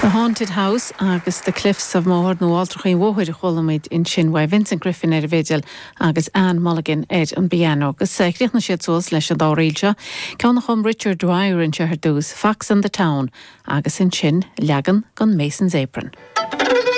The Haunted House agus The Cliffs of Moher nó Alltrachaí an Mhóthair a chuala muid ansin uaidh Vincent Griffin ar an bhfidil agus Anne Mulligan ar an bpianó. Agus chríochnaigh siad suas leis an dá ríl seo, ceann a chum Richard Dwyer anseo ar dtús, Fox and the Town, agus ansin leagan den Mason's Apron.